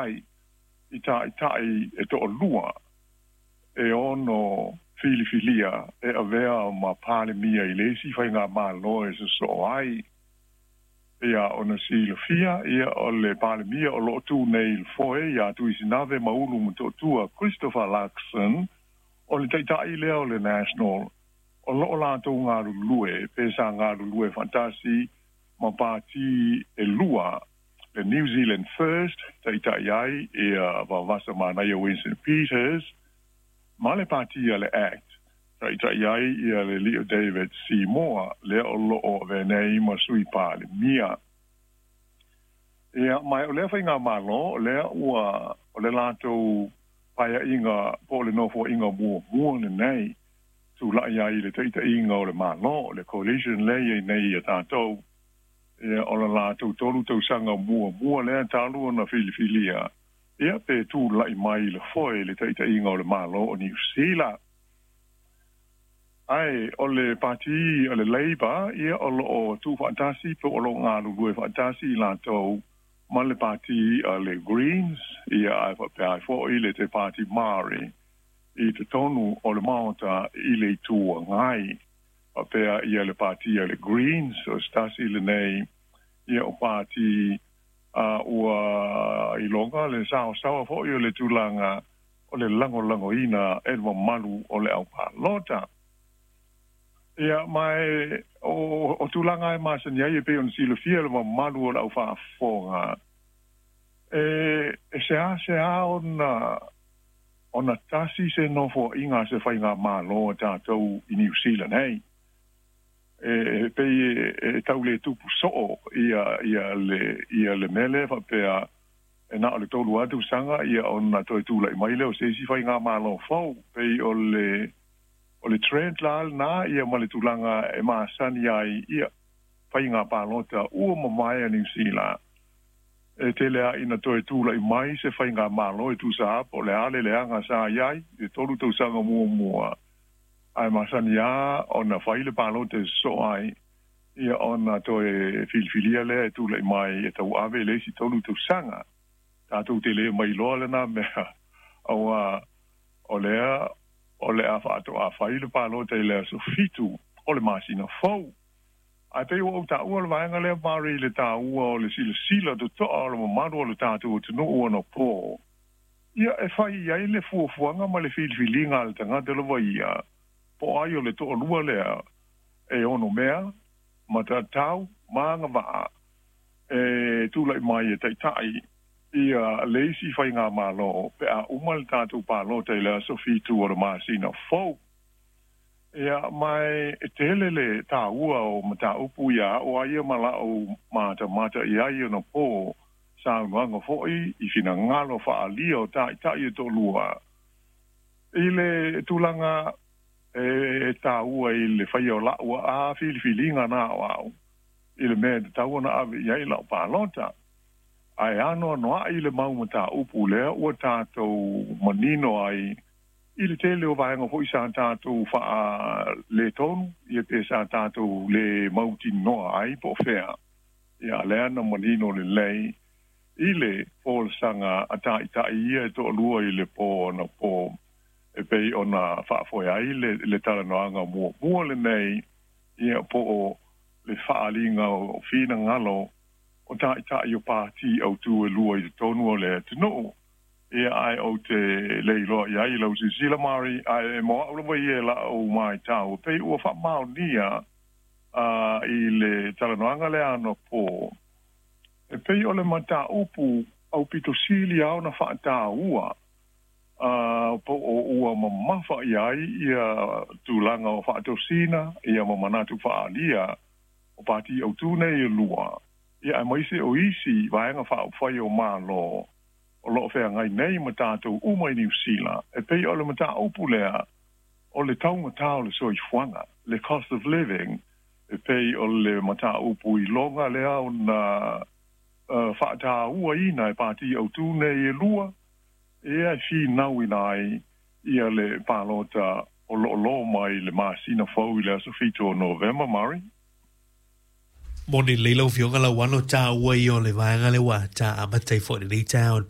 ai i ta'ita'i e to'alua e ono filifilia e avea ma Palemia i le isi faigamalo e sosoo ai. Ia ona silafia, ia o le Palemia o loo tu nei i le foe ia Tuisinave Maulu Motootua Christopher Luxon, o le ta'ita'i lea o le National o loo latou galulue pe sa galulue faatasi ma pati e lua, le New Zealand First ta'ita'i ai ia Vaovasa Manaia Winston Peters ma le pati a le ACT ta'ita'i ai ia le alii o David Seymour lea o loo avea nei ma Sui Palemia. Ia ma o lea faigamalo lea ua o le latou paea'iga po o le nofoa'iga muamua lenei tula'i ai i le ta'ita'iga o le Malo, le coalition lea iai nei ia tatou. Ia o le latou 3 tausaga muamua lea talu ona filifilia ia pe tula'i mai i le foe le ta'ita'iga o le Malo o Niu Sila. Ae o le pati o le Labour, ia o loo tuufaatasi po o loo galulue faatasi i latou ma le pati a le Greens, ia ae faapea ai fo'i le Te Pāti Māori i totonu o le Maota i le Itu Agai. Faapea ia le pati a le Greens o se tasi lenei ia o pati a ua iloga le saosaoa fo'i o le tulaga o le lagolagoina e le mamalu o le aupalota. Ia ma e o tulaga e masani ai e pei ona silafia le mamalu o le aufaafofoga e seasea ona tasi se nofoa'iga se faigamalo a tatou i Niu Sila nei e pei e tau le tupu soo ia ia le ia le mea lea faapea e na o le 3 atu saga ia ona toe tula'i mai lea o se isi faigamalo fou. Pei o le trend la lena ia ma le tulaga e masani ai ia faiga palota ua mamae a Niu Sila e tele a ina toe tula'i mai se faigamalo e tusa po o le a le leaga sa iai le 3 tausaga muamua, ae masani a ona fai le palota e sosoo ai ia ona toe filifilia lea e tula'i mai e tauave le isi 3 tausaga. Tatou te le mailoa lena mea auā o lea o le a faatoa fai le palota i le aso 7 o le masina fou. Ae pei ua ou taua le vaega lea, Mari, le tāua o le silasila totoa o le mamalu o le tatou atunuu ona pō ia e fai ai le fuafuaga ma le filifiliga a le tagata lava ia po ai o le toalua lea e ono mea matatau ma agavaa e tula'i mai e ta'ita'i ia le isi faigamalo pe a uma le tatou palota i le aso 7 o le masina fou. Ia ma e tele le tāua o mataupu ia a'o ai ia ma la'u matamata i ai ona pō saunoaga fo'i i finagalo fa'aalia o ta'ita'i e to'alua i le tulaga e tāua i le faia o la'u a filifiliga na a'oa'o i le mea e tatau ona ave i ai la'u palota. Ae anoanoa'i le mau mataupu lea ua tatou manino ai i le tele o vaega fo'i sa tatou faaletonu ia pe sa tatou le mautinoa ai po o fea ia lea na manino lelei i le folasaga a ta'ita'i ia e to'alua i le pō ona pō e pei ona faafoe ai le talanoaga muamua lenei ia po o le faaaliga o finagalo o ta'ita'i o pati autū e lua i totonu o le atunuu. Ia ae ou te le iloa i ai lau silasila, Mari, ae mo a'u lava ia e la'u maitau pei ua faamaonia i le talanoaga lea anapō e pei o le mataupu aupito sili a ona fa'atāua po o ua mamafa i ai ia tulaga o fa'atosina ia ma manatu fa'aalia o pati autū nei e lua ia aemaise o isi vaega faaupufai o Malo o loo feagai nei ma tatou uma i Niu Sila e pei o le mataupu lea o le taugatā o le soifuaga, le cost of living, e pei o le mataupu iloga lea ona fa'atāuaina e pati autū nei e lua ia e finauina ai ia le palota o lo'olō mai le masina fou i le aso 7 o Novema, Mari. Mo ni lei lau fioga la wano ta ua i o le vaega le wa ta amata i fo le ta o le.